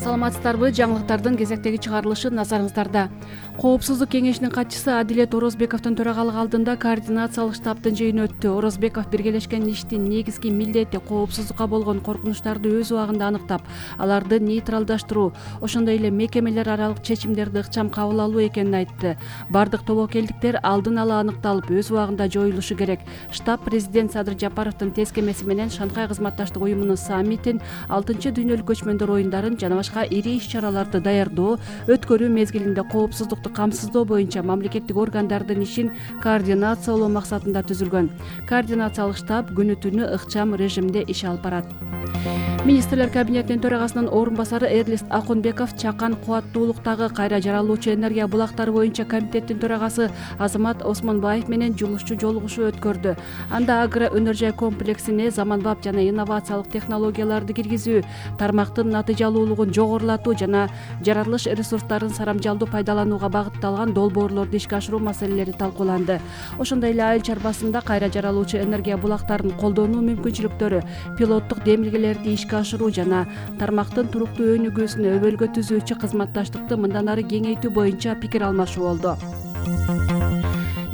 Саламатсыздарбы? Жаңылыктардын кезектеги чыгарылышы назарыңыздарда. Коопсуздук кеңешинин катчысы Адилет Орозбековдун төрагалыгы алдында координациялык штабтын жыйыны өттү. Орозбеков биргелешкен иштин негизги милдети коопсуздукка болгон коркунучтарды өз убагында аныктап, аларды нейтралдаштыруу, ошондой эле мекемелер аралык чечимдерди ыкчам кабыл алуу экенин айтты. Бардык тобокелдиктер алдын ала аныкталып, өз убагында жоюлушу керек. Штаб президент Садыр Жапаровдун тескемеси менен Шанхай кызматташтык уюмунун саммитин, 6-дүйнөлүк көчмөндөр оюндарын жана башка ири иш-чараларды даярдоо, өткөрүү мезгилинде коопсуздукту камсыздоо боюнча мамлекеттик органдардын ишин координациялоо максатында түзүлгөн. Координациялык штаб күнү-түнү ыкчам режимде иш алып барат. Министрлер кабинетинин төрагасынын орун басары Эрлист Акунбеков Чакан кубаттуулуктагы кайра жаралуучу энергия булактары боюнча комитеттин төрагасы Азамат Осмонбаев менен жумушчу жолугушуу өткөрдү. Анда агро өнөр жай комплексине заманбап жана инновациялык технологияларды киргизүү, тармактын натыйжалуулугун жогорулатуу жана жаратылыш ресурстарын сарамжалдуу пайдаланууга багытталган долбоорлорду ишке ашыруу маселелери талкууланды. Ошондой эле айыл чарбасында кайра жаралуучу энергия булактарын колдонуу мүмкүнчүлүктөрү, пилоттук демилгелерди ишке ашыруу жана тармактын туруктуу өнүгүүсүнө өбөлгө түзүүчү кызматташтыкты мындан ары кеңейтүү боюнча пикир алмашуу болду.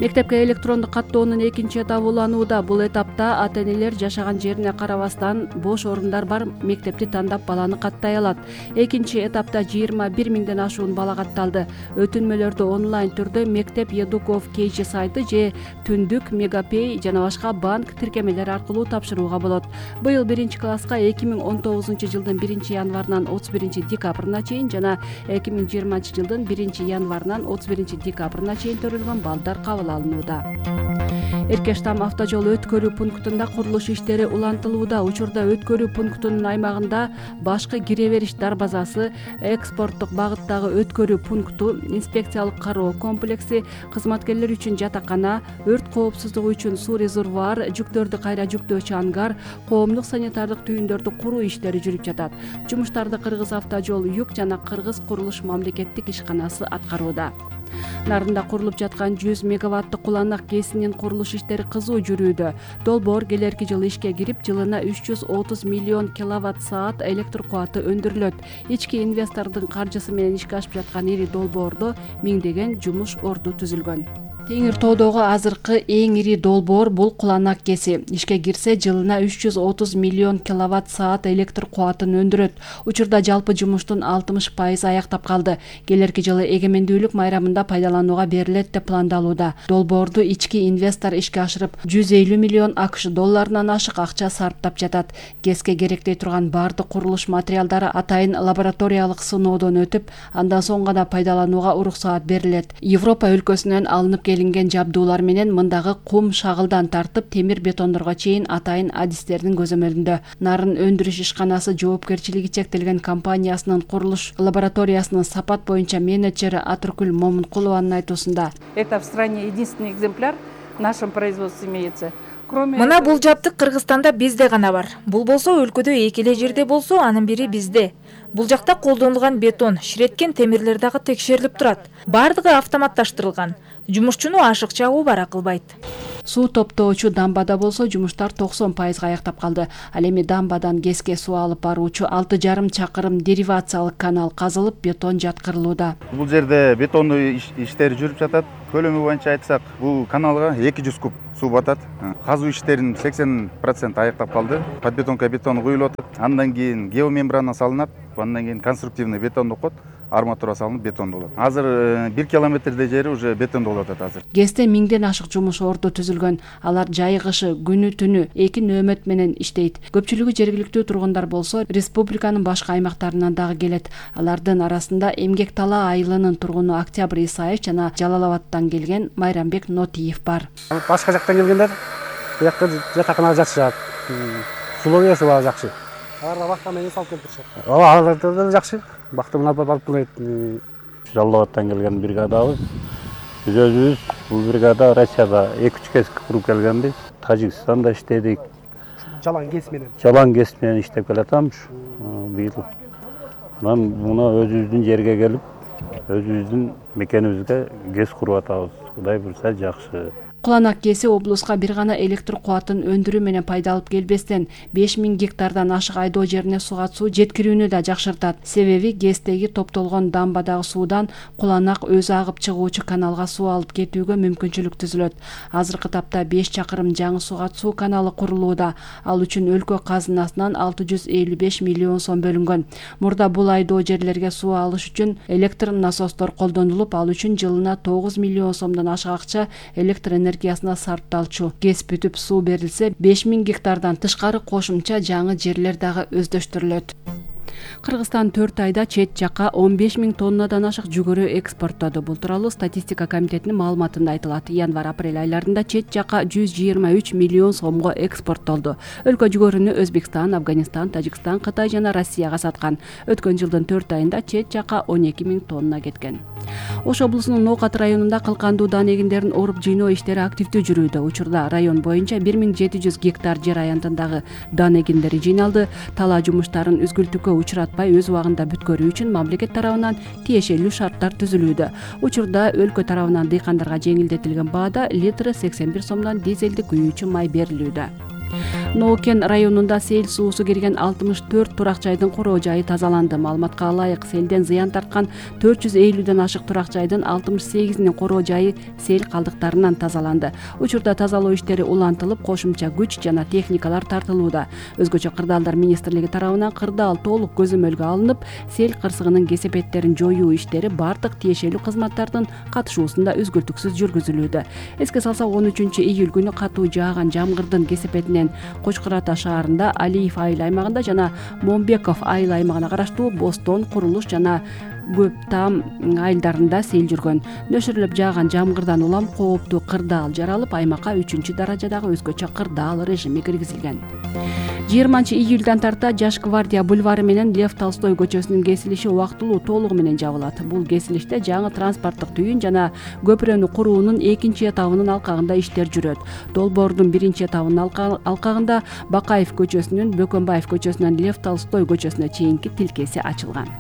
Мектепке электрондук каттоонун экинчи этабы уланууда. Бул этапта ата-энелер жашаган жерине карабастан бош орундар бар мектепти тандап баланы каттай алат. Экинчи этапта 21 миңден ашуун бала катталды. Өтүнмөлөрдү онлайн түрдө Мектеп Едуков KG сайты же Түндүк, Мегапей жана башка банк тиркемелер аркылуу тапшырууга болот. Быйыл 1-класска 2019-жылдын 1-январынан 31-декабрына чейин жана 2020-жылдын 1-январынан 31-декабрына чейин төрөлгөн балдар кабыл алынууда. Эркештам автожол өткөрүү пунктунда курулуш иштери улантылууда. Учурда өткөрүү пунктунун аймагында башкы кире бериш дарбазасы, экспорттук багыттагы өткөрүү пункту, инспекциялык кароо комплекси, кызматкерлер үчүн жатакана, өрт коопсуздугу үчүн суу резервуар, жүктөрдү кайра жүктөөчү ангар, коомдук санитардык түйүндөрдү куруу иштери жүрүп жатат. Жумуштарды Кыргыз автожол Юк жана Кыргыз курулуш мамлекеттик ишканасы аткарууда. Нарында курулуп жаткан 100 мегаваттык куланак КЭСинин курулуш иштери кызуу жүрүүдө. Долбоор келерки жылы ишке кирип, жылына 330 миллион киловатт-саат электр кубаты өндүрүлөт. Ички инвестордун каржысы менен ишке ашып жаткан ири долбоордо миңдеген жумуш орду түзүлгөн. Теңир тоодогу азыркы эң ири долбоор бул куланак КЭСи. Ишке кирсе, жылына 330 миллион киловатт-саат электр кубатын өндүрөт. Учурда жалпы жумуштун 60% аяктап калды. Келерки жылы эгемендүүлүк майрамында пайдаланууга берилет деп пландалууда. Долбоорду ички инвестор ишке ашырып, 150 миллион АКШ долларынан ашык акча сарптап жатат. КЭСке керектей турган бардык курулуш материалдары атайын лабораториялык сыноодон өтүп, андан соң гана пайдаланууга уруксаат берилет. Европа өлкөсүнөн алынып келинген жабдуулар менен мындагы кум, шагылдан тартып темир бетондорго чейин атайын адистердин көзөмөлүндө. Нарын өндүрүш ишканасы жоопкерчилиги чектелген компаниясынын курулуш лабораториясынын сапат боюнча менеджери Атыркүл Момункулованын айтуусунда. Это в стране единственный экземпляр в нашем производстве имеется. Мына бул жабдык Кыргызстанда бизде гана бар. Бул болсо өлкөдө эки эле жерде болсо, анын бири бизде. Бул жакта колдонулган бетон, ширеткен темирлер дагы текшерилип турат. Бардыгы автоматташтырылган. Жумушчуну ашык чагуу бара кылбайт. Суу топтоочу дамбада болсо жумуштар 90% аяктап калды. Ал эми дамбадан КЭСке суу алып баруучу 6,5 чакырым деривациялык канал казылып, бетон жаткырылууда. Бул жерде бетондуу иштери жүрүп жатат. Көлөмү боюнча айтсак, бул каналга 200 куб суу батат. Казуу иштеринин 80% аяктап калды. Подбетонка бетон куюлуп атат. Андан кийин геомембрана салынат. Андан кийин конструктивный бетонду кот, арматура салынып бетондо болот. Азыр 1 километрдей жери уже бетондо болуп атат азыр. КЭСте миңден ашык жумуш орду түзүлгөн. Алар жай кышы, күнү түнү 2 нөөмөт менен иштейт. Көпчүлүгү жергиликтүү тургундар болсо, республиканын башка аймактарынан дагы келет. Алардын арасында Эмгек Тала айылынын тургуну Октябрь Исаев жана Жалал Абадтан келген Майрамбек Нотиев бар. Башка жактан келгендер буякта жатаканага жатышат. Сулоосу баары жакшы. Аларга бакта менен салып келип турушат. Аларда да жакшы. Бакта менен алып келет. Жалал Абадтан келген бригадабыз. Биз өзүбүз бул бригада Россияда 2-3 кез куруп келгенбиз. Тажикстанда иштедик. Жалаң кес менен. Жалаң кес менен иштеп келатамыз. Быйыл. Анан муну өзүбүздүн жерге келип, өзүбүздүн мекенибизге кес куруп атабыз. Кудай буйрса жакшы. Куланак КЭСи облуска бир гана электр кубатын өндүрүү менен пайда алып келбестен 5000 гектардан ашык айдоо жерине суу жеткирүүнү да жакшыртат. Себеби КЭСтеги топтолгон дамбадагы суудан Куланак өзү агып чыгуучу каналга суу алып кетүүгө мүмкүнчүлүк түзүлөт. Азыркы тапта 5 чакырым жаңы суу каналы курулууда. Ал үчүн өлкө казынасынан 655 миллион сом бөлүнгөн. Мурда бул айдоо жерлерге суу алыш үчүн электр насостор колдонулуп, ал үчүн жылына 9 миллион сомдон ашык акча электр энергиясына сарпталчу. КЭС бүтүп суу берилсе, 5000 гектардан тышкары кошумча жаңы жерлер дагы өздөштүрүлөт. Кыргызстан 4 айда чет жакка 15 000 тоннадан ашык жүгөрү экспорттоду. Бул тууралуу статистика комитетинин маалыматында айтылат. Январь-апрель айларында чет жакка 123 миллион сомго экспорттолду. Өлкө жүгөрүнү Өзбекстан, Афганистан, Тажикстан, Кытай жана Россияга саткан. Өткөн жылдын 4 айында чет жакка 12 000 тонна кеткен. Ош облусунун Ноокат районунда кылкандуу даан эгиндерин оруп жыйноо иштери активдүү жүрүүдө. Учурда район боюнча 1700 гектар жер аянтындагы даан эгиндери жыйналды. Талаа жумуштарын үзгүлтүккө учуратпай өз убагында бүткөрүү үчүн мамлекет тарабынан тиешелүү шарттар түзүлүүдө. Учурда өлкө тарабынан дыйкандарга жеңилдетилген баада литрі 81 сомдон дизелдик күйүүчү май берилүүдө. Ноокен районунда сел суусу кирген 64 турак жайдын короо жайы тазаланды. Маалыматка ылайык, селден зыян тарткан 450ден ашык турак жайдын 68-нин короо жайы сел калдыктарынан тазаланды. Учурда тазалоо иштери улантылып, кошумча күч жана техникалар тартылууда. Өзгөчө Кырдаалдар министрлиги тарабынан кырдаал толук көзөмөлгө алынып, сел кырсыгынын кесепеттерин жоюу иштери бардык тиешелүү кызматтардын катышуусунда үзгүлтүксүз жүргүзүлүүдө. Эске салсак, 13-июль күнү катуу жааган жамгырдын кесепетинен Кочкор Ата шаарында, Алиев айыл аймагында жана Момбеков айыл аймагына караштуу Бостон, Курулуш жана Көптам айылдарында сел жүргөн. Нөшүрүлүп жааган жамгырдан улам кооптуу кырдаал жаралып, аймакка 3-даражадагы өзгөчө кырдаал режими киргизилген. 20-июльдан тарта Жаш гвардия бульвары менен Лев Толстой көчөсүнүн кесилиши убактылуу толугу менен жабылат. Бул кесилиште жаңы транспорттук түйүн жана көпүрөнү куруунун 2 этабынын алкагында иштер жүрөт. Долбоордун 1 этабынын алкагында Бакаев көчөсүнүн Бөкөнбаев көчөсүнөн Лев Толстой көчөсүнө чейинки тилкеси ачылган.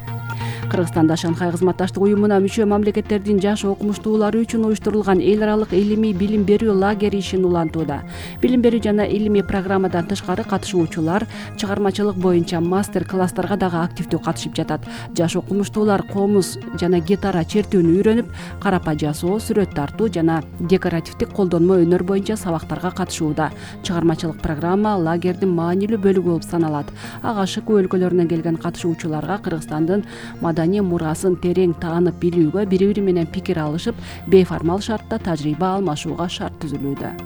Кыргызстанда Шанхай кызматташтык уюмуна мүчө мамлекеттердин жаш окумуштуулары үчүн уюштурулган эл аралык илимий билим берүү лагери ишин улантууда. Билим берүү жана илимий программадан тышкары катышуучулар чыгармачылык боюнча мастер-класстарга дагы активдүү катышып жатат. Жаш окумуштуулар комуз жана гитара чертүүнү үйрөнүп, карапа жасоо, сүрөт тартуу жана декоративдик колдонмо өнөр боюнча сабактарга катышууда. Чыгармачылык программа лагердин маанилүү бөлүгү болуп саналат. Ага ШК өлкөлөрүнөн келген катышуучуларга Кыргызстандын маданий мурасын терең таанып билүүгө, бири-бири менен пикир алышып, бейформал шартта тажрыйба алмашууга шарт түзүлүүдө.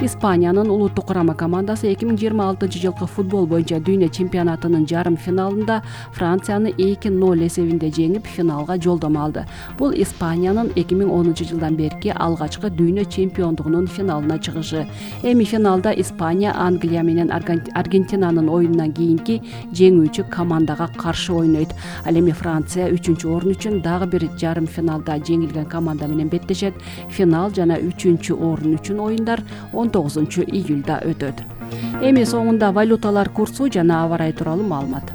Испаниянын улуттук курама командасы 2026 жылкы футбол боюнча дүйнө чемпионатынын жарым финалында Францияны 2-0 эсебинде жеңип, финалга жолдомо алды. Бул Испаниянын 2010 жылдан берки алгачкы дүйнө чемпиондугунун финалына чыгышы. Эми финалда Испания Англия менен Аргентинанын оюнунан кийинки жеңүүчү командага каршы ойнойт. Ал эми Франция 3-орун үчүн дагы бир жарым финалда жеңилген команда менен беттешет. Финал жана 3-орун үчүн оюндар 19-июльда өтөт. Эми соңунда валюталар курсу жана аба ырайы тууралуу маалымат.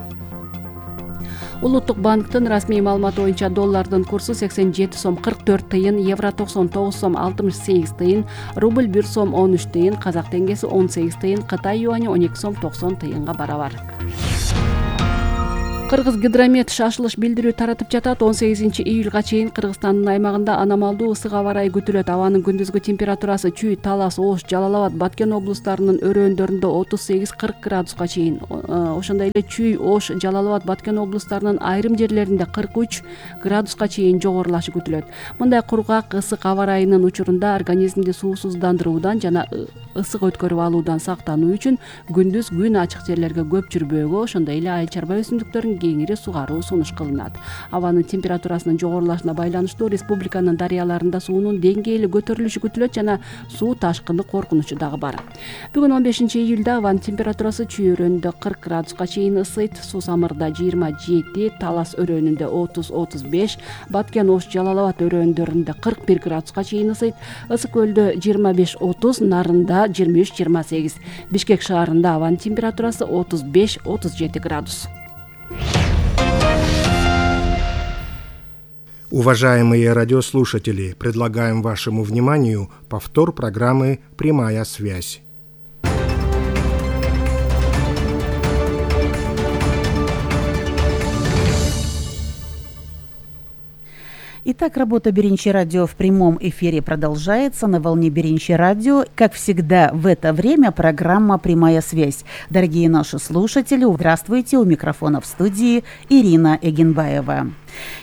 Улуттук банктын расмий маалыматы боюнча доллардын курсу 87 сом 44 тыйын, евро 99 сом 68 тыйын, рубль 1 сом 13 тыйын, казак теңгеси 18 тыйын, Кытай юани 12 сом 90 тыйынга барабар. Кыргыз гидромет шашылыш билдирүү таратып жатат. 18-июлга чейин Кыргызстандын аймагында аномалдуу ысык аба ырайы күтүлөт. Абанын күндүзгү температурасы Чүй, Талас, Ош, Жалал Абад, Баткен облустарынын өрөөндөрүндө 38-40 градуска чейин. Ошондой эле Чүй, Ош, Жалал Абад, Баткен облустарынын айрым жерлеринде 43 градуска чейин жогорулашы күтүлөт. Мындай кургак ысык аба ырайынын учурунда организмди суусуздандыруудан жана ысык өткөрүп алуудан сактануу үчүн күндүз күн ачык жерлерге көп жүрбөөгө, ошондой эле айыл чарба өсүмдүктөрүн кеңири сугаруу сунуш кылынат. Абанын температурасынын жогорулашына байланыштуу республиканын дарыяларында суунун деңгээли көтөрүлүшү күтүлөт жана суу ташкыны коркунучу дагы бар. Бүгүн 15-июлда абанын температурасы Чүй өрөөнүндө 40 градуска чейин ысыйт, Суу Самырда 27, Талас өрөөнүндө 30-35, Баткен, Ош, Жалал Абад өрөөндөрүндө 41 градуска чейин ысыйт, Ысык көлдө 25-30, Нарында 23-28, Бишкек шаарында абанын температурасы 35-37 градус. Уважаемые радиослушатели, предлагаем вашему вниманию повтор программы «Прямая связь». Итак, работа Беринчи радио в прямом эфире продолжается на волне Беринчи радио. Как всегда в это время программа «Прямая связь». Дорогие наши слушатели, здравствуйте, у микрофона в студии Ирина Эгенбаева.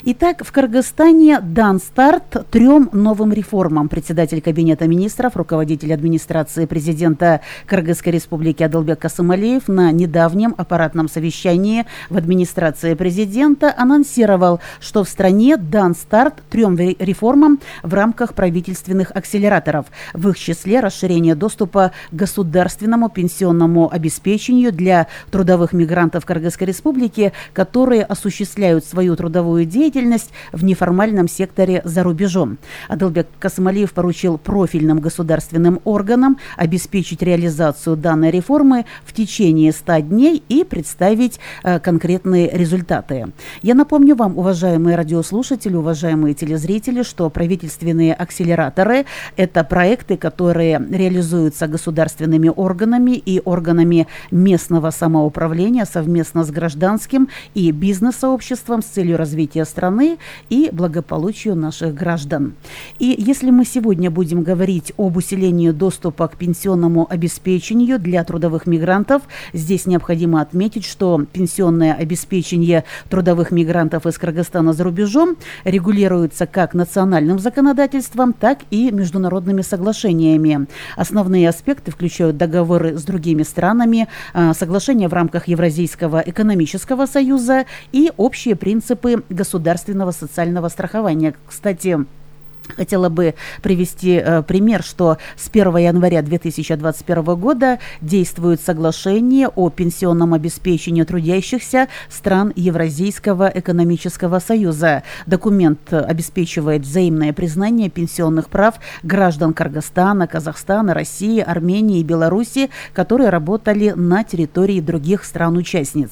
Итак, в Кыргызстане дан старт 3 новым реформам. Председатель Кабинета министров, руководитель администрации президента Кыргызской республики Адылбек Касымалиев на недавнем аппаратном совещании в администрации президента анонсировал, что в стране дан старт 3 реформам в рамках правительственных акселераторов. В их числе расширение доступа к государственному пенсионному обеспечению для трудовых мигрантов Кыргызской республики, которые осуществляют свою трудовую деятельность в неформальном секторе за рубежом. Адылбек Касымалиев поручил профильным государственным органам обеспечить реализацию данной реформы в течение 100 дней и представить конкретные результаты. Я напомню вам, уважаемые радиослушатели, уважаемые телезрители, что правительственные акселераторы – это проекты, которые реализуются государственными органами и органами местного самоуправления совместно с гражданским и бизнес-сообществом с целью развития страны и благополучию наших граждан. И если мы сегодня будем говорить об усилении доступа к пенсионному обеспечению для трудовых мигрантов, здесь необходимо отметить, что пенсионное обеспечение трудовых мигрантов из Кыргызстана за рубежом регулируется как национальным законодательством, так и международными соглашениями. Основные аспекты включают договоры с другими странами, соглашения в рамках Евразийского экономического союза и общие принципы государственного социального страхования. Кстати, хотела бы привести пример, что с 1 января 2021 года действует соглашение о пенсионном обеспечении трудящихся стран Евразийского экономического союза. Документ обеспечивает взаимное признание пенсионных прав граждан Кыргызстана, Казахстана, России, Армении и Беларуси, которые работали на территории других стран-участниц.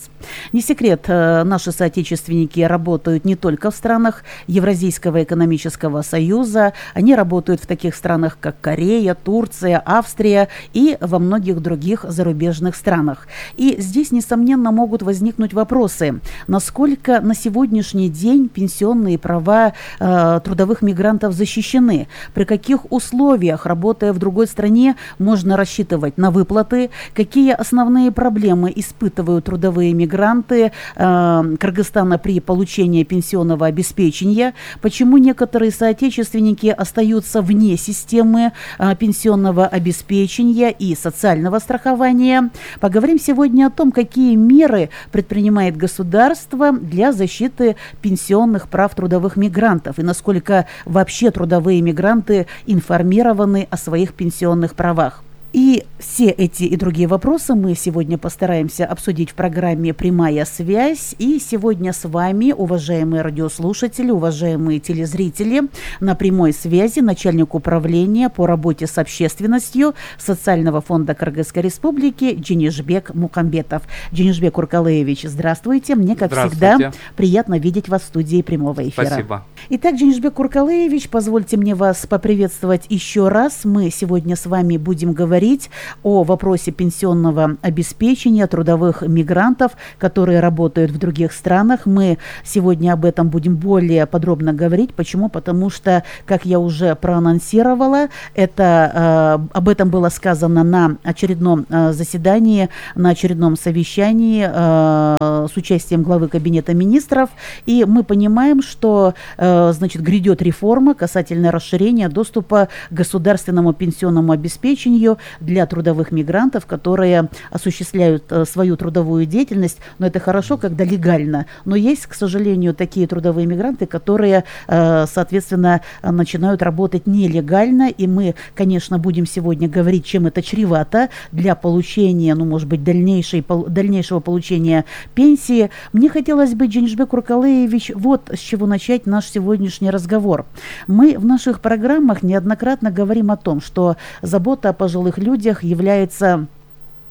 Не секрет, наши соотечественники работают не только в странах Евразийского экономического союза, они работают в таких странах, как Корея, Турция, Австрия и во многих других зарубежных странах. И здесь, несомненно, могут возникнуть вопросы, насколько на сегодняшний день пенсионные права трудовых мигрантов защищены, при каких условиях, работая в другой стране, можно рассчитывать на выплаты, какие основные проблемы испытывают трудовые мигранты Кыргызстана при получении пенсионного обеспечения, почему некоторые соотечественники остаются вне системы пенсионного обеспечения и социального страхования. Поговорим сегодня о том, какие меры предпринимает государство для защиты пенсионных прав трудовых мигрантов и насколько вообще трудовые мигранты информированы о своих пенсионных правах. И все эти и другие вопросы мы сегодня постараемся обсудить в программе «Прямая связь». И сегодня с вами, уважаемые радиослушатели, уважаемые телезрители, на прямой связи начальник управления по работе с общественностью Социального фонда Кыргызской республики Дженишбек Мукамбетов. Дженишбек Уркалеевич, здравствуйте. Мне, как всегда, приятно видеть вас в студии прямого эфира. Спасибо. Итак, Дженишбек Уркалеевич, позвольте мне вас поприветствовать еще раз. Мы сегодня с вами будем говорить о вопросе пенсионного обеспечения трудовых мигрантов, которые работают в других странах. Мы сегодня об этом будем более подробно говорить. Почему? Потому что, как я уже проанонсировала, об этом было сказано на очередном заседании, на очередном совещании с участием главы Кабинета министров. И мы понимаем, что грядет реформа касательно расширения доступа к государственному пенсионному обеспечению для трудовых мигрантов, которые осуществляют свою трудовую деятельность. Но это хорошо, когда легально. Но есть, к сожалению, такие трудовые мигранты, которые, соответственно, начинают работать нелегально. И мы, конечно, будем сегодня говорить, чем это чревато для получения, может быть, дальнейшего получения пенсии. Мне хотелось бы, Дженишбек Уркалеевич, вот с чего начать наш сегодняшний разговор. Мы в наших программах неоднократно говорим о том, что забота о пожилых людях является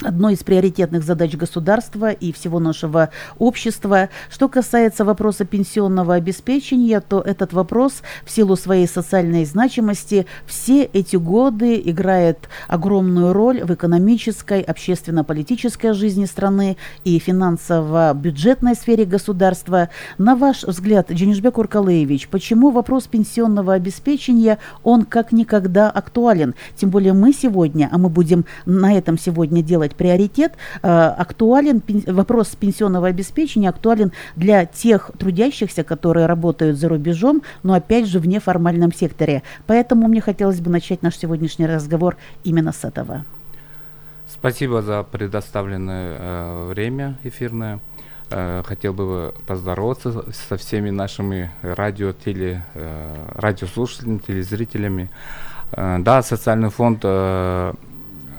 одной из приоритетных задач государства и всего нашего общества. Что касается вопроса пенсионного обеспечения, то этот вопрос в силу своей социальной значимости все эти годы играет огромную роль в экономической, общественно-политической жизни страны и финансово-бюджетной сфере государства. На ваш взгляд, Дженишбек Уркалыевич, почему вопрос пенсионного обеспечения, он как никогда актуален? Тем более мы сегодня, а мы будем на этом сегодня делать приоритет, актуален вопрос пенсионного обеспечения, актуален для тех трудящихся, которые работают за рубежом, но опять же в неформальном секторе. Поэтому мне хотелось бы начать наш сегодняшний разговор именно с этого. Спасибо за предоставленное время эфирное. Хотел бы поздороваться со всеми нашими радиослушателями, телезрителями. Да, социальный фонд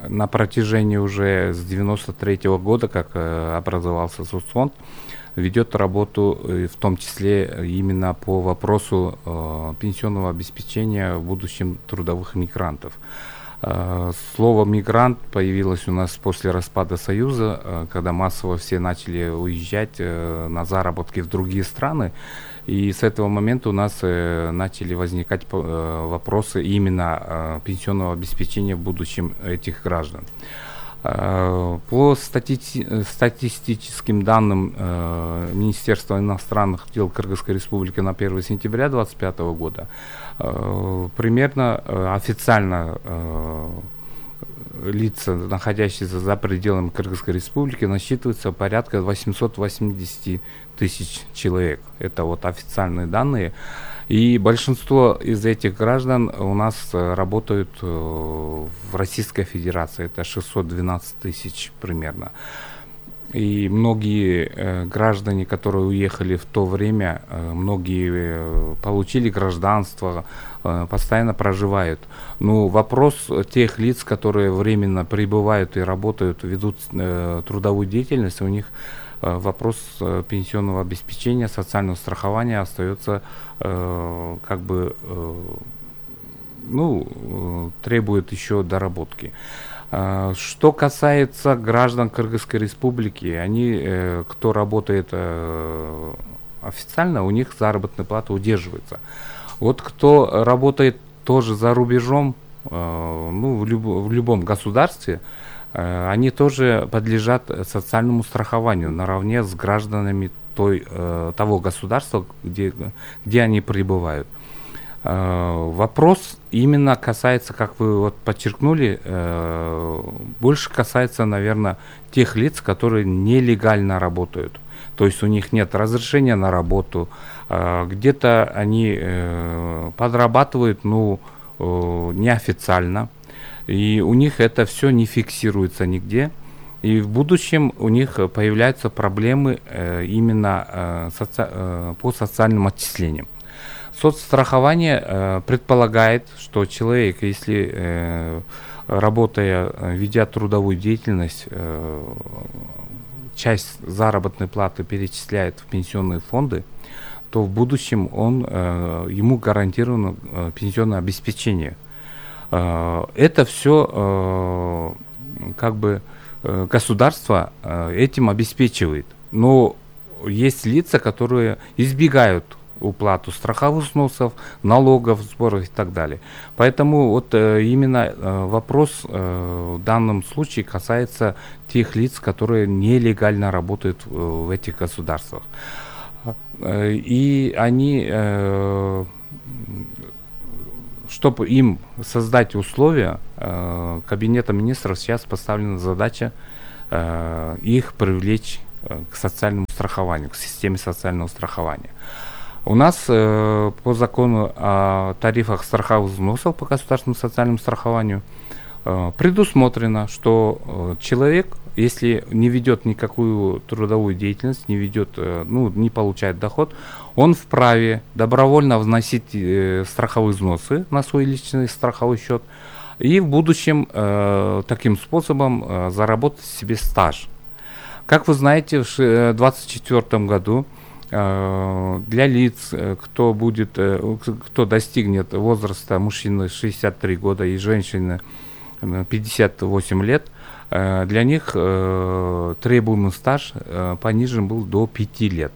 на протяжении уже с 1993 года, как образовался соцфонд, ведет работу, в том числе именно по вопросу пенсионного обеспечения в будущем трудовых мигрантов. Слово «мигрант» появилось у нас после распада Союза, когда массово все начали уезжать на заработки в другие страны. И с этого момента у нас начали возникать вопросы именно пенсионного обеспечения в будущем этих граждан. По статистическим данным Министерства иностранных дел Кыргызской Республики на 1 сентября 2025 года, примерно официально лица, находящиеся за пределами Кыргызской Республики, насчитывается порядка 880 тысяч человек. Это вот официальные данные. И большинство из этих граждан у нас работают в Российской Федерации. Это 612 тысяч примерно. И многие граждане, которые уехали в то время, многие получили гражданство, постоянно проживают. Но вопрос тех лиц, которые временно прибывают и работают, ведут трудовую деятельность, у них вопрос пенсионного обеспечения, социального страхования остается требует еще доработки. Что касается граждан Кыргызской Республики, они, кто работает официально, у них заработная плата удерживается. Вот кто работает тоже за рубежом, в любом государстве, они тоже подлежат социальному страхованию наравне с гражданами того государства, где они пребывают. Вопрос именно касается, как вы вот подчеркнули, больше касается, наверное, тех лиц, которые нелегально работают. То есть у них нет разрешения на работу, где-то они подрабатывают, неофициально, и у них это все не фиксируется нигде. И в будущем у них появляются проблемы именно по социальным отчислениям. Соцстрахование предполагает, что человек, если работая, ведя трудовую деятельность, часть заработной платы перечисляет в пенсионные фонды, то в будущем ему гарантировано пенсионное обеспечение. Это все государство этим обеспечивает. Но есть лица, которые избегают уплату страховых взносов, налогов, сборов и так далее. Поэтому вот именно вопрос в данном случае касается тех лиц, которые нелегально работают в этих государствах. И они, чтобы им создать условия, Кабинетом министров сейчас поставлена задача их привлечь к социальному страхованию, к системе социального страхования. У нас по закону о тарифах страховых взносов по государственному социальному страхованию предусмотрено, что человек, если не ведет никакую трудовую деятельность, не получает доход, он вправе добровольно вносить страховые взносы на свой личный страховой счет и в будущем таким способом заработать себе стаж. Как вы знаете, в 2024 году для лиц, кто достигнет возраста мужчины 63 года и женщины 58 лет, Для них требуемый стаж понижен был до 5 лет.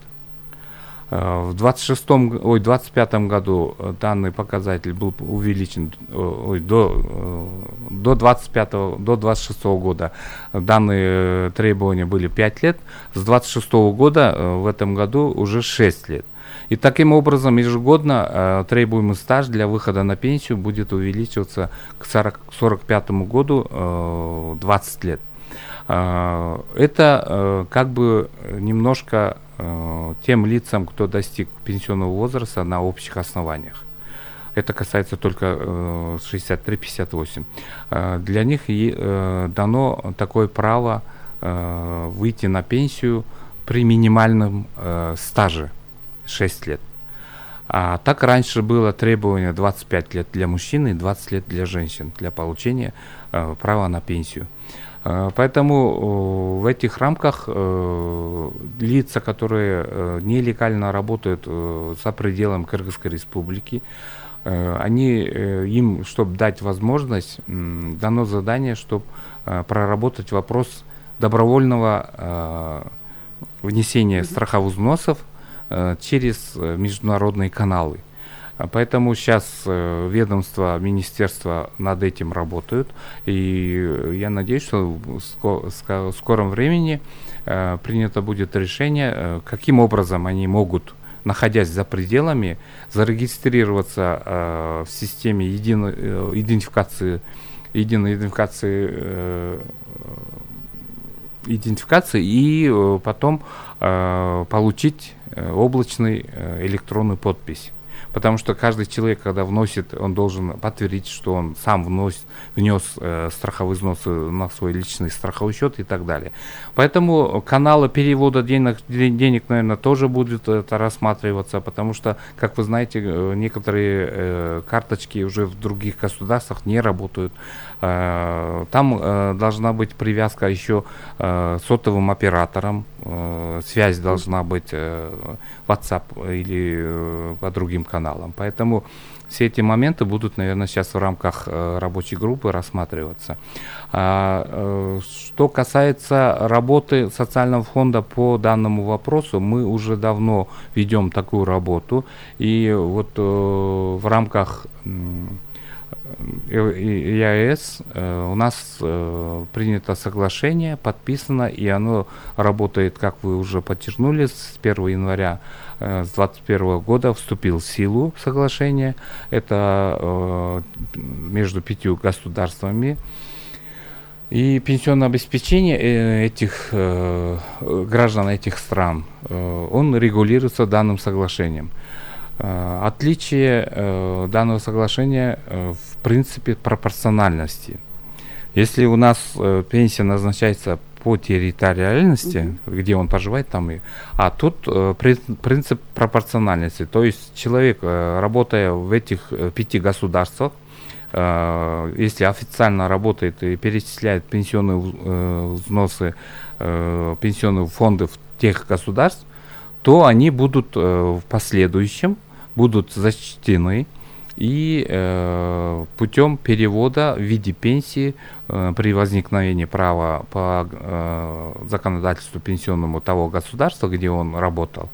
В 2025 году данный показатель был увеличен до 26 года. Данные требования были 5 лет. С 26 года в этом году уже 6 лет. И таким образом ежегодно требуемый стаж для выхода на пенсию будет увеличиваться к 45 году 20 лет. Это как бы немножко тем лицам, кто достиг пенсионного возраста на общих основаниях. Это касается только 63-58. Для них дано такое право выйти на пенсию при минимальном стаже 6 лет. А так раньше было требование 25 лет для мужчин и 20 лет для женщин для получения права на пенсию. Поэтому в этих рамках лица, которые нелегально работают за пределами Кыргызской республики, им, чтобы дать возможность, дано задание, чтобы проработать вопрос добровольного внесения страховых взносов через международные каналы. Поэтому сейчас ведомство, министерство над этим работают, и я надеюсь, что в скором времени принято будет решение, каким образом они могут, находясь за пределами, зарегистрироваться в системе единой идентификации и потом получить облачную электронную подпись. Потому что каждый человек, когда вносит, он должен подтвердить, что он сам внес страховые взносы на свой личный страховой счет и так далее. Поэтому каналы перевода денег, наверное, тоже будут это рассматриваться, потому что, как вы знаете, некоторые карточки уже в других государствах не работают. Там должна быть привязка еще сотовым оператором, связь должна быть WhatsApp или по другим каналам. Поэтому все эти моменты будут, наверное, сейчас в рамках рабочей группы рассматриваться. Что касается работы социального фонда по данному вопросу, мы уже давно ведем такую работу. И вот в рамках ЕАЭС у нас принято соглашение, подписано, и оно работает, как вы уже подчеркнули, с 1 января с 2021 года вступил в силу соглашение. Это между 5 государствами. И пенсионное обеспечение этих граждан этих стран, он регулируется данным соглашением. Отличие данного соглашения в принципе пропорциональности. Если у нас пенсия назначается по территориальности, где он проживает, там и. А тут принцип пропорциональности. То есть человек, работая в этих 5 государствах, если официально работает и перечисляет пенсионные взносы, пенсионные фонды в тех государств, то они будут в последующем будут зачтены и путем перевода в виде пенсии при возникновении права по законодательству пенсионному того государства, где он работал,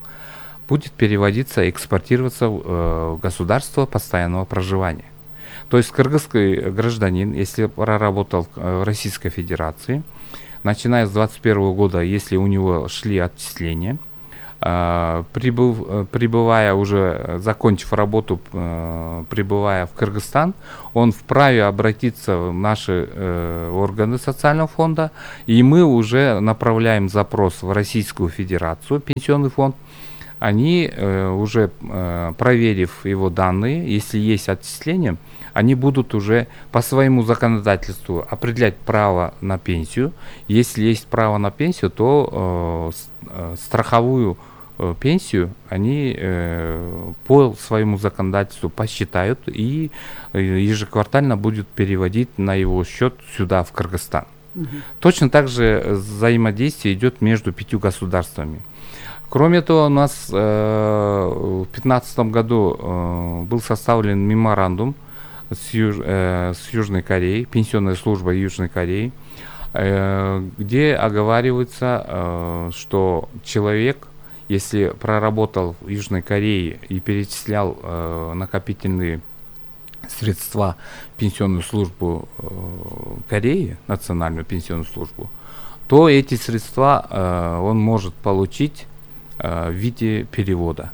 будет переводиться, экспортироваться в государство постоянного проживания. То есть кыргызский гражданин, если проработал в Российской Федерации, начиная с 2021 года, если у него шли отчисления, прибывая уже, закончив работу, прибывая в Кыргызстан, он вправе обратиться в наши органы социального фонда, и мы уже направляем запрос в Российскую Федерацию, пенсионный фонд. Они, уже проверив его данные, если есть отчисления, они будут уже по своему законодательству определять право на пенсию. Если есть право на пенсию, то страховую пенсию они по своему законодательству посчитают и ежеквартально будут переводить на его счет сюда, в Кыргызстан. Точно так же взаимодействие идет между 5 государствами. Кроме того, у нас в 2015 году был составлен меморандум с Южной Кореей, пенсионная служба Южной Кореи. где оговаривается, что человек, если проработал в Южной Корее и перечислял накопительные средства в пенсионную службу Кореи, национальную пенсионную службу, то эти средства он может получить в виде перевода.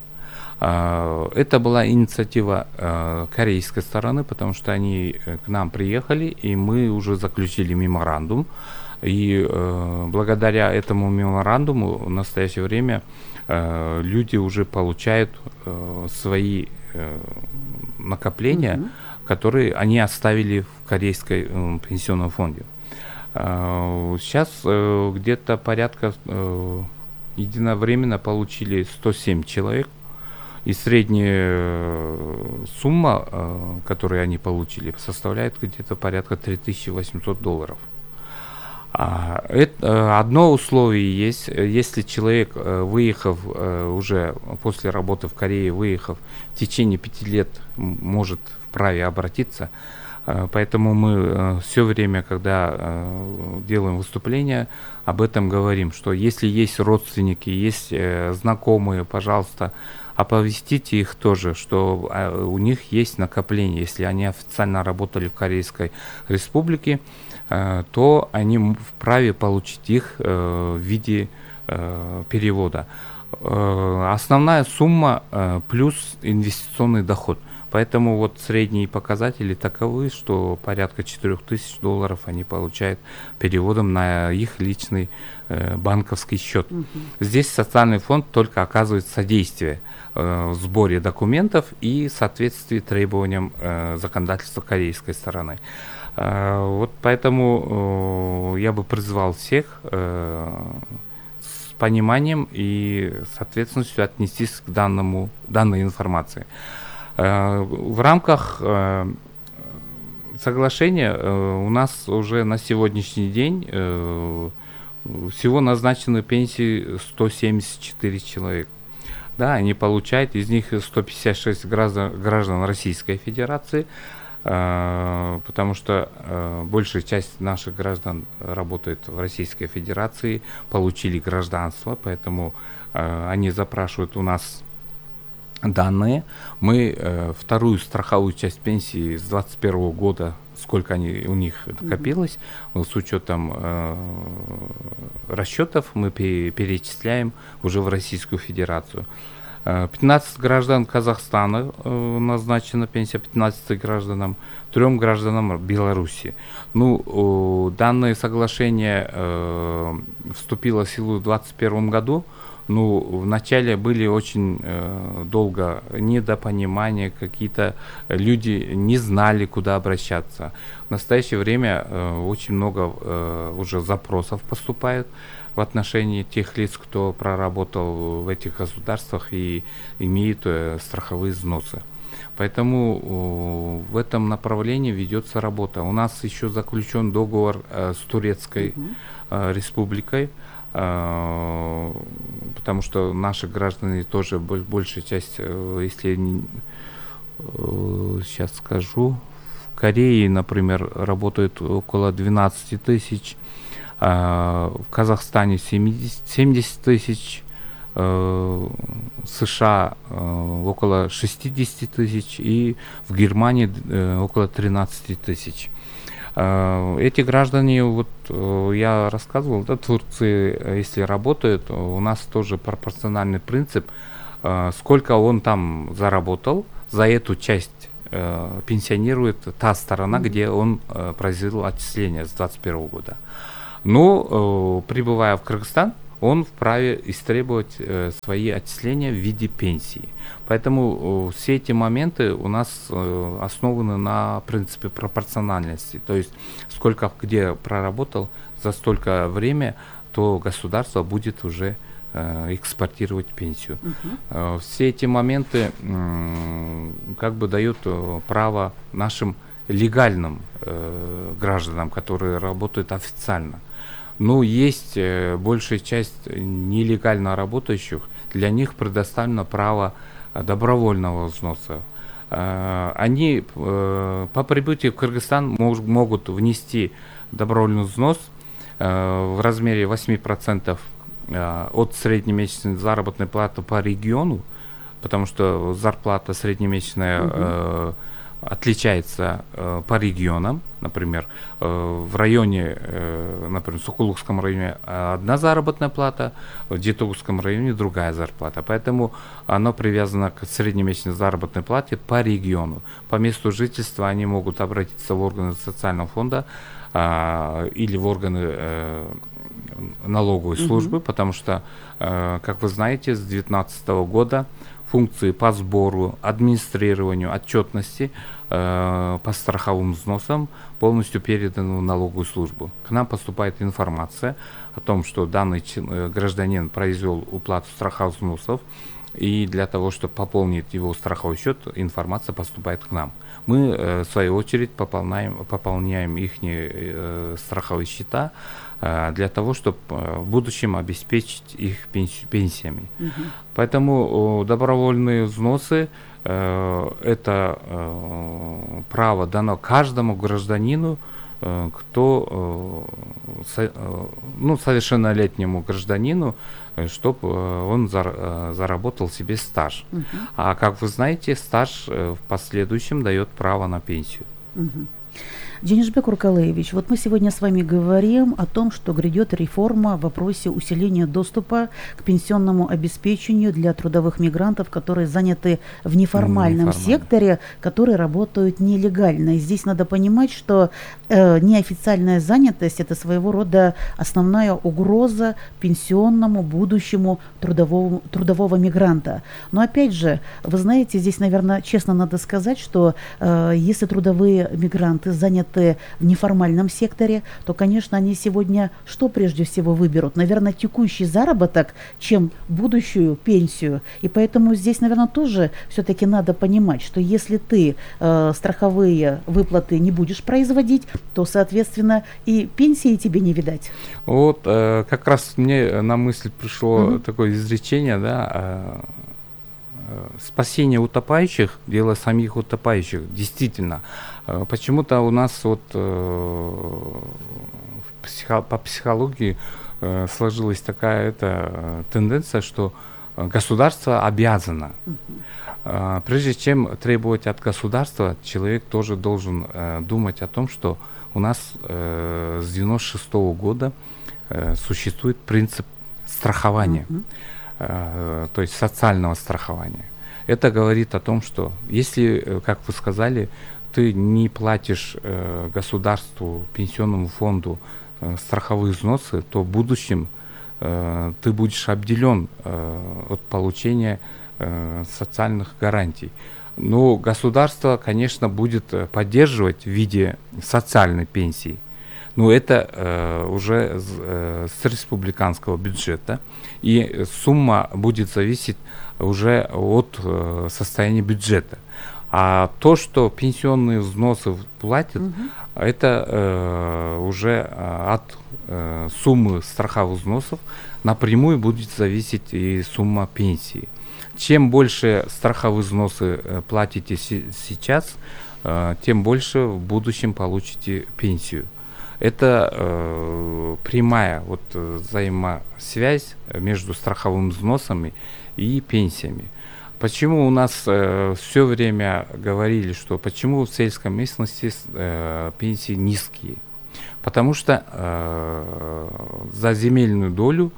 Это была инициатива корейской стороны, потому что они к нам приехали, и мы уже заключили меморандум. И благодаря этому меморандуму в настоящее время люди уже получают свои накопления, которые они оставили в корейском пенсионном фонде. Сейчас где-то порядка единовременно получили 107 человек, и средняя сумма, которую они получили, составляет где-то порядка $3800. Одно условие есть, если человек, выехав уже после работы в Корее, выехав в течение 5 лет, может вправе обратиться. Поэтому мы все время, когда делаем выступления, об этом говорим, что если есть родственники, есть знакомые, пожалуйста, оповестите их тоже, что у них есть накопление. Если они официально работали в Корейской Республике, то они вправе получить их в виде перевода. Основная сумма плюс инвестиционный доход. Поэтому вот средние показатели таковы, что порядка $4000 они получают переводом на их личный банковский счет. Здесь социальный фонд только оказывает содействие в сборе документов и в соответствии требованиям законодательства корейской стороны. Вот поэтому я бы призвал всех с пониманием и с ответственностью отнестись к данной информации. В рамках соглашения у нас уже на сегодняшний день всего назначены пенсии 174 человека. Да, они получают, из них 156 граждан Российской Федерации, потому что большая часть наших граждан работает в Российской Федерации, получили гражданство, поэтому они запрашивают у нас данные. Мы вторую страховую часть пенсии с 2021 года, сколько у них накопилось, с учетом расчетов, мы перечисляем уже в Российскую Федерацию. 15 граждан Казахстана назначена пенсия, 15 гражданам, 3 гражданам Беларуси. Ну, данное соглашение вступило в силу в 2021 году. Ну, вначале были очень долго недопонимания, какие-то люди не знали, куда обращаться. В настоящее время очень много уже запросов поступает в отношении тех лиц, кто проработал в этих государствах и имеет страховые взносы. Поэтому в этом направлении ведется работа. У нас еще заключен договор с Турецкой республикой, потому что наши граждане тоже, большая часть, если сейчас скажу, в Корее, например, работает около 12 тысяч, в Казахстане 70 тысяч, США около 60 тысяч и в Германии около 13 тысяч. Эти граждане, вот я рассказывал, да, в Турции, если работают, у нас тоже пропорциональный принцип, сколько он там заработал, за эту часть пенсионирует та сторона, где он произвел отчисления с 2021 года. Но, прибывая в Кыргызстан, он вправе истребовать свои отчисления в виде пенсии. Поэтому все эти моменты у нас основаны на принципе пропорциональности. То есть сколько где проработал за столько время, то государство будет уже экспортировать пенсию. Все эти моменты как бы дают право нашим легальным гражданам, которые работают официально. Но есть большая часть нелегально работающих, для них предоставлено право добровольного взноса. Они по прибытии в Кыргызстан могут внести добровольный взнос в размере 8% от среднемесячной заработной платы по региону, потому что зарплата среднемесячная отличается по регионам. Например, в районе, например, в Сокулукском районе одна заработная плата, в Жетогузском районе другая зарплата. Поэтому оно привязано к среднемесячной заработной плате по региону. По месту жительства они могут обратиться в органы социального фонда или в органы налоговой службы, потому что, как вы знаете, с 2019 года функции по сбору, администрированию, отчетности по страховым взносам полностью переданы в налоговую службу. К нам поступает информация о том, что данный гражданин произвел уплату страховых взносов, и для того, чтобы пополнить его страховой счет, информация поступает к нам. Мы, в свою очередь, пополняем их страховые счета для того, чтобы в будущем обеспечить их пенсиями. Поэтому добровольные взносы – это право дано каждому гражданину, кто, совершеннолетнему гражданину, чтобы он заработал себе стаж. А как вы знаете, стаж в последующем дает право на пенсию. Денисбек Уркалаевич, вот мы сегодня с вами говорим о том, что грядет реформа в вопросе усиления доступа к пенсионному обеспечению для трудовых мигрантов, которые заняты в неформальном секторе, которые работают нелегально. И здесь надо понимать, что неофициальная занятость – это своего рода основная угроза пенсионному будущему трудового мигранта. Но опять же, вы знаете, здесь, наверное, честно надо сказать, что если трудовые мигранты заняты в неформальном секторе, то, конечно, они сегодня что прежде всего выберут? Наверное, текущий заработок, чем будущую пенсию. И поэтому здесь, наверное, тоже все-таки надо понимать, что если ты страховые выплаты не будешь производить, то, соответственно, и пенсии тебе не видать. Вот как раз мне на мысль пришло такое изречение, да, спасение утопающих – дело самих утопающих. Действительно, почему-то у нас вот по психологии сложилась такая тенденция, что государство обязано. Прежде чем требовать от государства, человек тоже должен думать о том, что у нас с 1996 года существует принцип страхования. То есть социального страхования. Это говорит о том, что если, как вы сказали, ты не платишь государству, пенсионному фонду страховые взносы, то в будущем ты будешь обделен от получения социальных гарантий. Но государство, конечно, будет поддерживать в виде социальной пенсии. Но это уже с республиканского бюджета, и сумма будет зависеть уже от состояния бюджета. А то, что пенсионные взносы платят, это уже от суммы страховых взносов напрямую будет зависеть и сумма пенсии. Чем больше страховые взносы платите сейчас, тем больше в будущем получите пенсию. Это прямая взаимосвязь между страховыми взносами и пенсиями. Почему у нас все время говорили, что почему в сельской местности пенсии низкие? Потому что за земельную долю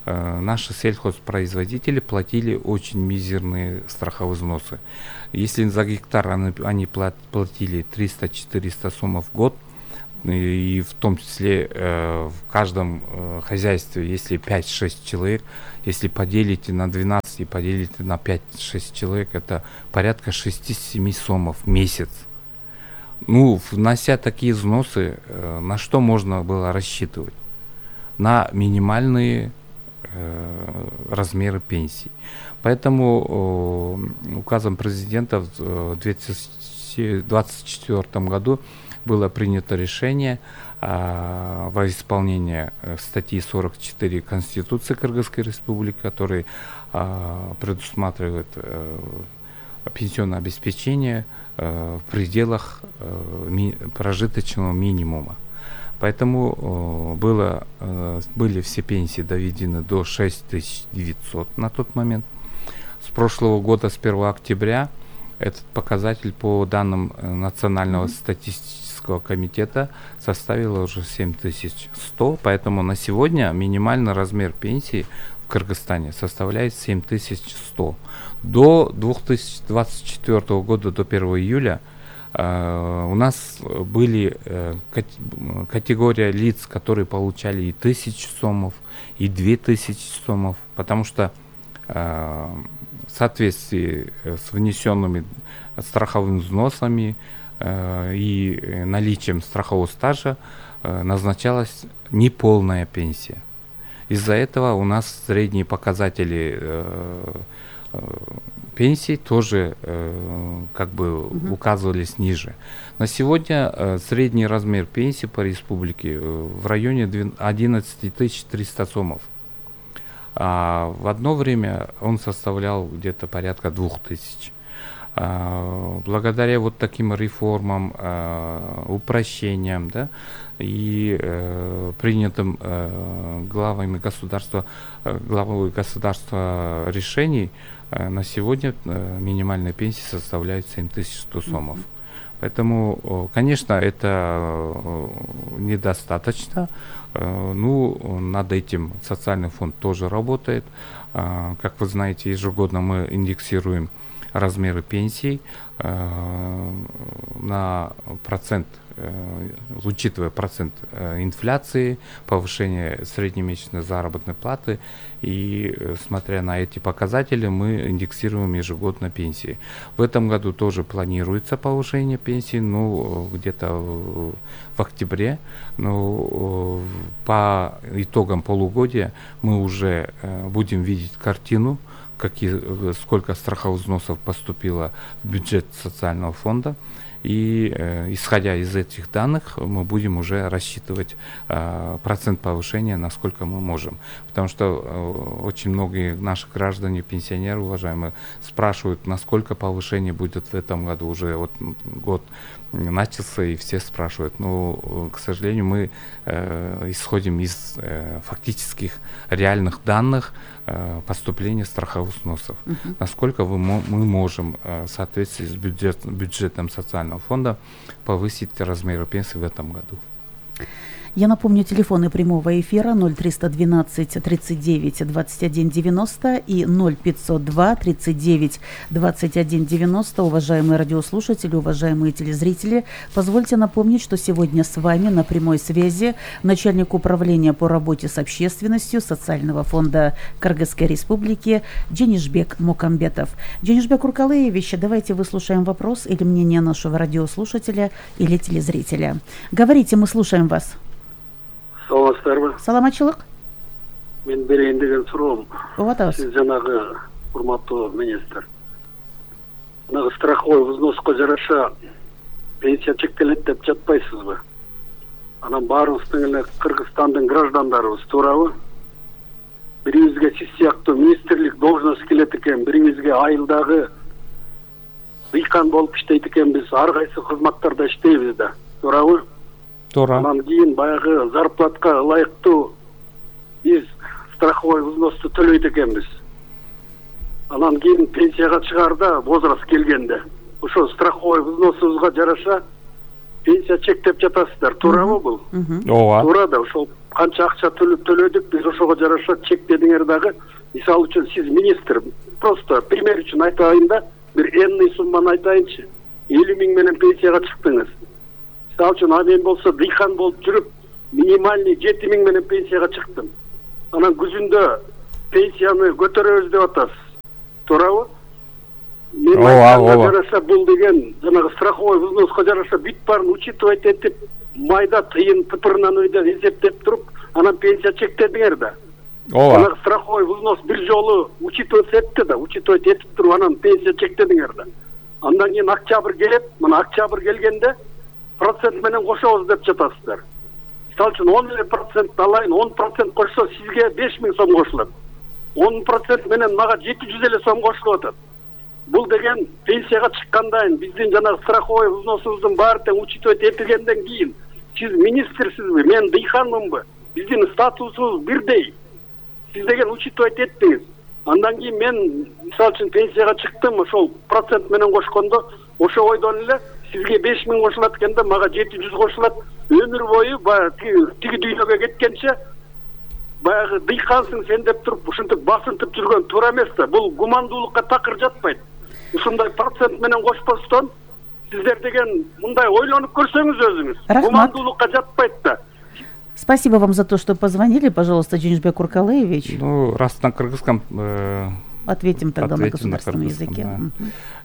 наши сельхозпроизводители платили очень мизерные страховые взносы. Если за гектар они платили 300-400 сом в год, и в том числе в каждом хозяйстве, если 5-6 человек, если поделите на 12 и поделите на 5-6 человек, это порядка 6-7 сомов в месяц. Внося такие взносы, на что можно было рассчитывать? На минимальные размеры пенсий. Поэтому указом президента в 2024 году было принято решение во исполнение статьи 44 Конституции Кыргызской Республики, который предусматривает пенсионное обеспечение в пределах прожиточного минимума. Поэтому были все пенсии доведены до 6900 на тот момент. С прошлого года, с 1 октября, этот показатель по данным Национального статистического комитета составил уже 7100, поэтому на сегодня минимальный размер пенсии в Кыргызстане составляет 7100. До 2024 года, до 1 июля, у нас были категория лиц, которые получали и 1000 сомов, и 2000 сомов, потому что в соответствии с внесенными страховыми взносами и наличием страхового стажа назначалась неполная пенсия. Из-за этого у нас средние показатели пенсий тоже указывались ниже. На сегодня средний размер пенсии по республике в районе 11 300 сомов. А в одно время он составлял где-то порядка 2000. Благодаря вот таким реформам, упрощениям, да, и принятым главой государства решений, на сегодня минимальная пенсия составляет 7100 сомов. Поэтому, конечно, это недостаточно. Над этим социальный фонд тоже работает. Как вы знаете, ежегодно мы индексируем размеры пенсий на процент, учитывая процент инфляции, повышение среднемесячной заработной платы, и смотря на эти показатели, мы индексируем ежегодно пенсии. В этом году тоже планируется повышение пенсий, где-то в октябре, по итогам полугодия мы уже будем видеть картину, сколько страховых взносов поступило в бюджет социального фонда. И исходя из этих данных, мы будем уже рассчитывать процент повышения, насколько мы можем. Потому что очень многие наши граждане, пенсионеры, уважаемые, спрашивают, насколько повышение будет в этом году. Уже вот год начался, и все спрашивают. Но, к сожалению, мы исходим из фактических реальных данных поступления страховых взносов. Насколько мы можем в соответствии с бюджетом социального фонда повысить размеры пенсии в этом году. Я напомню, телефоны прямого эфира 0312 39 21 90 и 0502 39 21 90. Уважаемые радиослушатели, уважаемые телезрители, позвольте напомнить, что сегодня с вами на прямой связи начальник управления по работе с общественностью Социального фонда Кыргызской Республики Дженишбек Мукамбетов. Дженишбек Уркалыевич, давайте выслушаем вопрос или мнение нашего радиослушателя или телезрителя. Говорите, мы слушаем вас. Саламатсыздарбы? Саламатчылык. Мен берейин деген суроом. Оотабыз. Сиз жанагы урматтуу министр. Жанагы страховой взноско жараша пенсия чектелет деп жатпайсызбы? Анан баарыбыздын эле Кыргызстандын граждандарыбыз, туурабы? Бирибизге сиз сыяктуу министрлик должность келет экен, бирибизге айылдагы дыйкан болуп иштейт экенбиз, ар кайсы кызматтарда иштейбиз да, туурабы? Туура. Анан кийин баягы зарплатка ылайыктуу биз страховой взносты төлөйт экенбиз. Анан кийин пенсияга чыгаарда возраст келгенде ошо страховой взносубузга жараша пенсия чектеп жатасыздар, туурабы бул? Ооба. Туура да, ошол канча акча төлөдүк, биз ошого жараша чектедиңер дагы. Мисалы үчүн сиз министр, просто пример үчүн айтайын да, бир энный сумманы айтайынчы. 50 000 менен пенсияга чыктыңыз. Мисалы үчүн мен болсо дыйкан болуп жүрүп, минимальный 7 000 менен пенсияга чыктым. Анан күзүндө пенсияны көтөрөбүз деп атасыз. Туурабы? Мен жараша бул деген жанагы страховой взноска жараша бүт баарын учитывать этип, майда тыйын тыпырынан өйдөн эсептеп туруп, анан пенсия чектедиңер да. Ооба. Жанагы страховой взнос бир жолу учитывать этти да, учитывать этип туруп, анан пенсия чектедиңер да. Андан кийин октябрь келет, мына октябрь келгенде процент менен кошобуз деп жатасыздар. Мисалы үчүн 10% алайын, 10% кошсо сизге 5 000 сом кошулат. 10% менен мага 700 сом кошулуп атат. Бул деген пенсияга чыккандан биздин жанагы страховой взносубуздун баары тең учитывать этилгенден кийин сиз министрсизби, мен дыйканмынбы, биздин статусубуз бирдей. Сиз деген учитывать эттиңиз. Андан кийин мен мисалы үчүн пенсияга чыктым, ошол процент менен кошкондо ошо ойдон эле сизге 5000 кошулат экенде, мага 700 кошулат. Өмүр бою баягы тиги дүйнөгө кеткенче баягы дыйкансың сен деп туруп ушинтип басынтып жүргөн туура эмес да. Бул гумандуулукка такыр жатпайт. Ушундай процент менен кошпостон сиздер деген мындай ойлонуп көрсөңүз өзүңүз. Рахмат. Гумандуулукка жатпайт да. Спасибо вам за то, что позвонили. Пожалуйста, Джинжбек Уркалаевич. Ну, раз на кыргызском... Ответим тогда на государственном языке.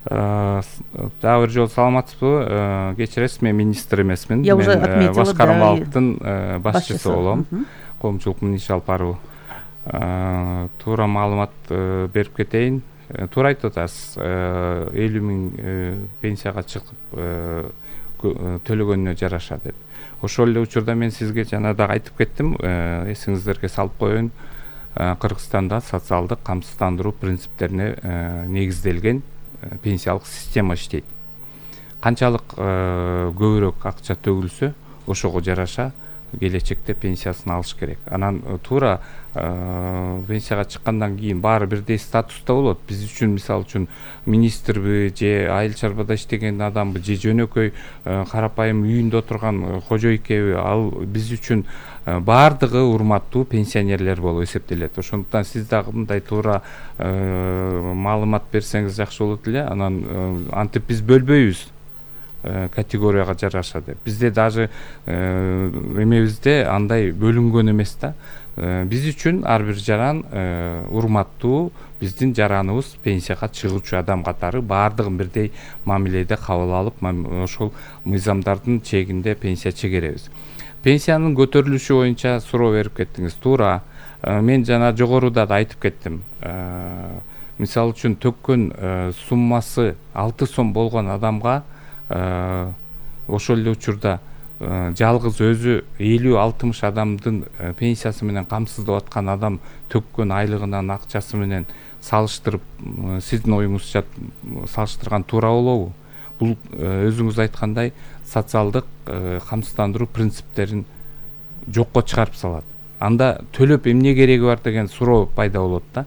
Дагы бир жолу саламатсызбы? Кечиресиз, мен министр эмесмин. Я уже отметила, да. Башкармалыктын башчысы болом. Коомчулуктун иш алып баруу. Туура маалымат берип кетейин. Туура айтып атасыз. 50 000 пенсияга чыгып төлөгөнүнө жараша деп. Ошол эле учурда мен сизге жана дагы айтып кеттим, эсиңиздерге салып коеюн. Кыргызстанда социалдык камсыздандыруу принциптерине негизделген пенсиялык система иштейт. Канчалык көбүрөөк акча төгүлсө, ошого жараша келечекте пенсиясын алыш керек. Анан туура пенсияга чыккандан кийин баары бирдей статуста болот. Биз үчүн мисалы үчүн министрби же айыл чарбада иштеген адамбы же жөнөкөй карапайым үйүндө отурган кожойкеби, ал биз үчүн баардыгы урматтуу пенсионерлер болуп эсептелет. Ошондуктан сиз дагы мындай туура маалымат берсеңиз жакшы болот эле. Анан антип биз бөлбөйбүз категорияга жараша деп. Бизде даже эмебизде андай бөлүнгөн эмес да. Биз үчүн ар бир жаран урматтуу, биздин жараныбыз пенсияга чыгуучу адам катары баардыгын бирдей мамиледе кабыл алып, ошол мыйзамдардын чегинде пенсия чегеребиз. Пенсиянын көтөрүлүшү боюнча суроо берип кеттиңиз. Туура. Мен жана жогоруда да айтып кеттим. Мисалы үчүн төккөн суммасы 6 сом болгон адамга ошол эле учурда жалгыз өзү 50-60 адамдын пенсиясы менен камсыздап аткан адам төккөн айлыгынын акчасы менен салыштырып, сиздин оюңузча салыштырган туура болобу? Бул өзүңүз айткандай социалдык камсыздандыруу принциптерин жокко чыгарып салат. Анда төлөп эмне кереги бар деген суроо пайда болот да.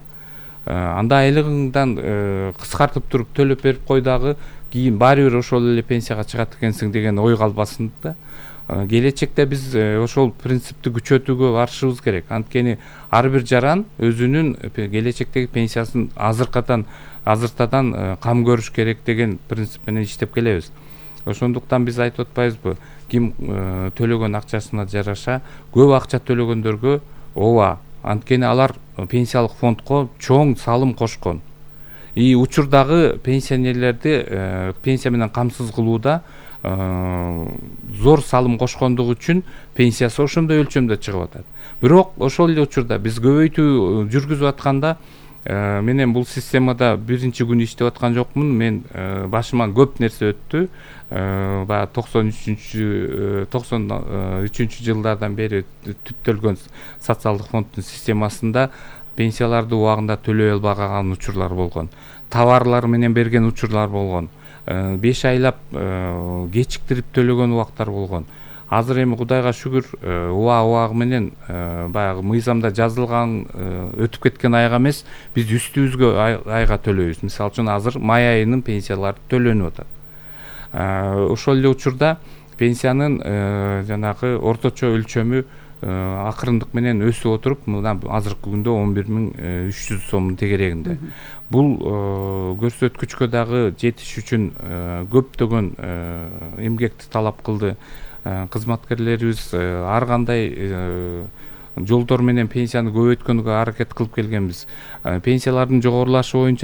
Анда айлыгыңдан кыскартып туруп төлөп берип кой дагы, кийин баары бир ошол эле пенсияга чыгат экенсиң деген ой калбасын да. Келечекте биз ошол принципти күчөтүүгө барышыбыз керек. Анткени ар бир жаран өзүнүн келечектеги пенсиясын азыртадан кам көрүш керек деген принцип менен иштеп келебиз. Ошондуктан биз айтып атпайбызбы, ким төлөгөн акчасына жараша көп акча төлөгөндөргө ооба, анткени алар пенсиялык фондко чоң салым кошкон. Учурдагы пенсионерлерди пенсия менен камсыз кылууда зор салым кошкондугу үчүн пенсиясы ошондой өлчөмдө чыгып атат. Бирок ошол эле учурда биз көбөйтүү жүргүзүп атканда менен бул системада биринчи күнү иштеп аткан жокмун. Мен башыман көп нерсе өттү. Баягы 93 жылдардан бери түптөлгөн социалдык фонддун системасында пенсияларды убагында төлөй албаган учурлар болгон. Товарлар менен берген учурлар болгон. 5 айлап кечиктирип төлөгөн убактар болгон. Азыр эми Кудайга шүгүр убагы менен баягы мыйзамда жазылган өтүп кеткен айга эмес, биз үстүбүзгө айга төлөйбүз. Мисалы үчүн азыр май айынын пенсиялары төлөнүп атат. Ошол эле учурда пенсиянын жанагы орточо өлчөмү акырындык менен өсүп отуруп, мына азыркы күндө 11.300 сомдун тегерегинде. Бул көрсөткүчкө дагы жетиш үчүн көптөгөн эмгекти талап кылды. Кызматкерлерибиз ар кандай жолдор менен пенсияны көбөйткөнгө аракет кылып келгенбиз. Пенсиялардын жогорулашы боюнча